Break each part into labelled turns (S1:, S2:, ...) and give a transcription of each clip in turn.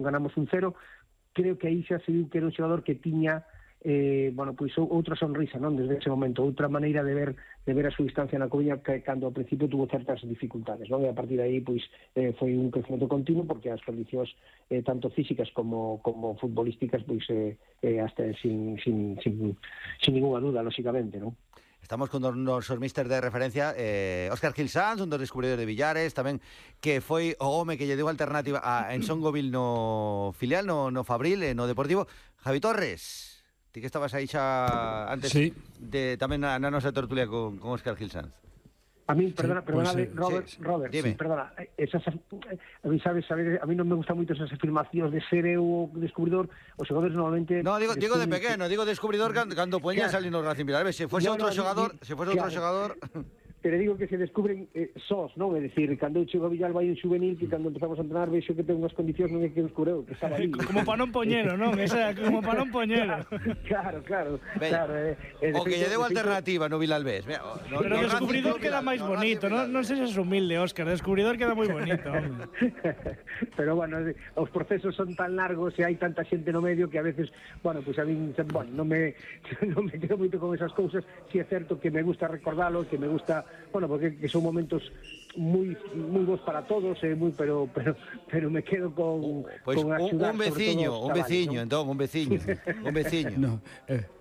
S1: ganamos 1-0. Creo que aí xa se viu que era un xogador que tiña pois outra sonrisa, non, desde ese momento, outra maneira de ver a súa distancia na Coruña, que cando ao principio tuvo certas dificultades, non? E a partir de aí pois foi un crecemento continuo, porque as condicións tanto físicas como futbolísticas pois hasta sin ninguna duda, lógicamente, non?
S2: Estamos con nosos míster de referencia, Óscar Gil Sanz, un dos descubridores de Villares, tamén que foi o home que lle deu alternativa a Ensongovil no filial, no Fabril, no Deportivo. Javi Torres, ti que estabas aí xa antes,
S3: sí,
S2: de tamén na nosa tertulia con Óscar Gil Sanz.
S1: A mí, perdona, Robert,
S2: dime.
S1: perdona, a mí sabes, a mí non me gustan moito esas afirmacións de ser eu o descubridor. Os xogadores normalmente...
S2: No, digo de pequeno, digo descubridor cando poñas ali no Racing Vilalba. Se fose outro xogador,
S1: pero digo que se descubren sós, non? É dicir, cando eu chego a Villalba hai un juvenil que cando empezamos a entrenar vexo que ten unhas condicións non é que descubreu, que estaba ali.
S4: Como para non poñelo, non? Esa, como para non poñelo.
S1: Claro.
S2: O que lle deu alternativa no Vilalbés.
S4: Pero o descubridor queda máis bonito, non sexas humilde, Óscar, o descubridor queda moi bonito.
S1: Pero bueno, os procesos son tan largos e hai tanta xente no medio que a veces, pues a mí non me quedo moito con esas cousas. Si é certo que me gusta recordalo, que me gusta, porque son momentos moi bons para todos, pero me quedo con
S2: un veciño, entón, un veciño.
S3: No,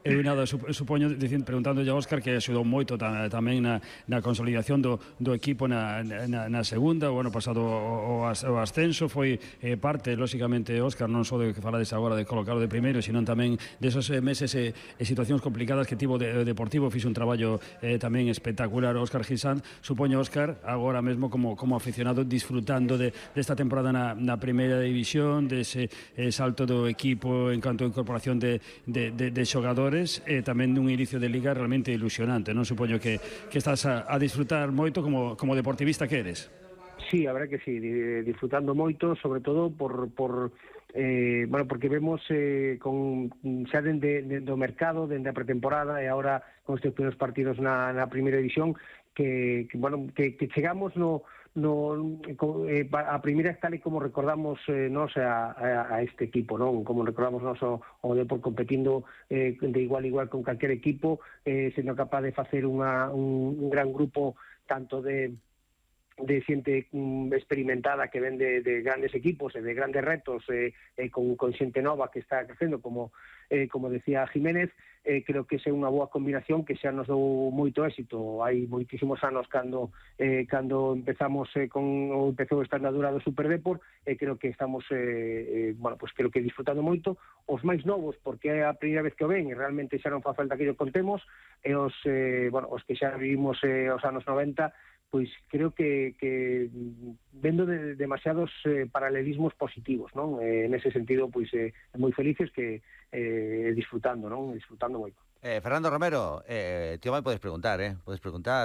S3: eu nada, supoño, preguntándolle a Óscar, que axudou moito tamén na consolidación do equipo na segunda. O ano pasado o ascenso foi parte, lóxicamente, Óscar, non só de que falades agora de colocarlo de primeiro, sino tamén desos meses e situacións complicadas que tivo o Deportivo. Fixe un traballo tamén espectacular Óscar Gil Sanz. Supoño, Óscar, agora mesmo como aficionado, disfrutando desta temporada na primeira división, dese salto do equipo en canto a incorporación de xogadores, e tamén dun inicio de liga realmente ilusionante, non? Supoño que estás a disfrutar moito como deportivista que eres.
S1: Sí, a verdade que sí, disfrutando moito, sobre todo porque vemos xa dende o mercado, dende a pretemporada e agora con estes primeiros partidos na primeira división, que chegamos a primeira tal e como recordamos nos a este equipo, non? Como recordamos nos o Depor competindo de igual a igual con calquer equipo, sendo capaz de facer un gran grupo tanto de xente experimentada que ven de grandes equipos e de grandes retos, con xente nova que está crecendo, como decía Jiménez. Creo que é unha boa combinación que xa nos dou moito éxito. Hai moitísimos anos cando empezamos empezou esta andadura do Super Depor, creo que estamos creo que disfrutando moito. Os máis novos, porque é a primeira vez que o ven e realmente xa non fa falta que o contemos, e os que xa vivimos os anos 90, pois creo que vendo demasiados paralelismos positivos, non? Nese sentido, pois moi felices que disfrutando, non? Disfrutando moito.
S2: Fernando Romero, tío, podes preguntar,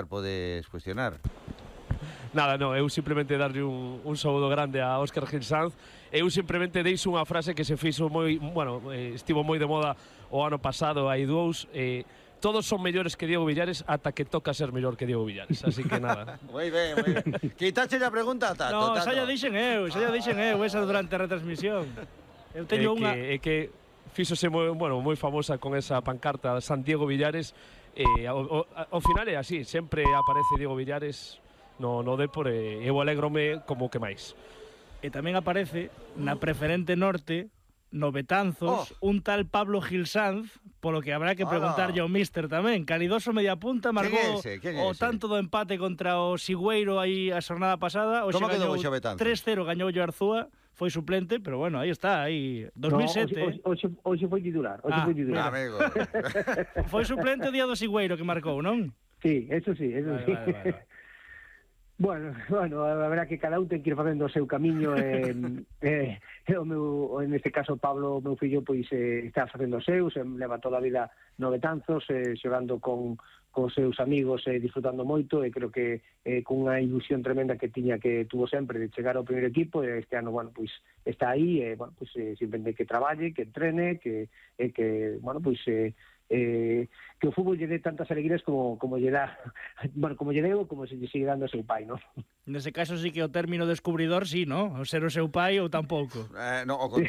S2: podes cuestionar.
S5: Nada, no, eu simplemente darlle un saúdo grande a Óscar Gil Sanz. Eu simplemente deixo unha frase que se fixo estivo moi de moda o ano pasado, hai dous, todos son mellores que Diego Villares ata que toca ser mellor que Diego Villares, así que nada.
S2: Moi ben. Quitache a pregunta, Tato.
S4: No, xa lla dixen eu esa durante a retransmisión. Eu teño unha...
S5: É que fíxose moi famosa con esa pancarta San Diego Villares, ao final é así, sempre aparece Diego Villares no Depor, e eu alégrome como que máis.
S4: E tamén aparece na preferente norte, no Betanzos, un tal Pablo Gil Sanz, polo que habrá que preguntarlle ao míster tamén. Calidoso media punta, marcou o tanto do empate contra o Sigüeiro aí a xornada pasada.
S2: Como quedou o Betanzos?
S4: 3-0 gañou o Arzúa, foi suplente, pero bueno, aí está, aí 2007.
S1: Hoxe foi titular,
S2: amigo.
S4: Foi suplente o día do Sigüeiro que marcou, non?
S1: Sí, eso sí. Vale. Bueno, a verdad que cada un ten que ir facendo o seu camiño, en este caso Pablo, meu fillo, pois está facendo os seus, leva toda a vida no Betanzos, xogando con seus amigos, disfrutando moito, e creo que con unha ilusión tremenda que tuvo sempre de chegar ao primeiro equipo, e este ano, pois está aí, simplemente que traballe, que entrene, que que o fútbol lle dé tantas alegrías como lle dá, bueno, como lle deu, como se lle sigue dando a seu pai, non?
S4: Nese caso sí que o término descubridor sí, non? O ser o seu pai ou tampouco.
S2: No, o contrario.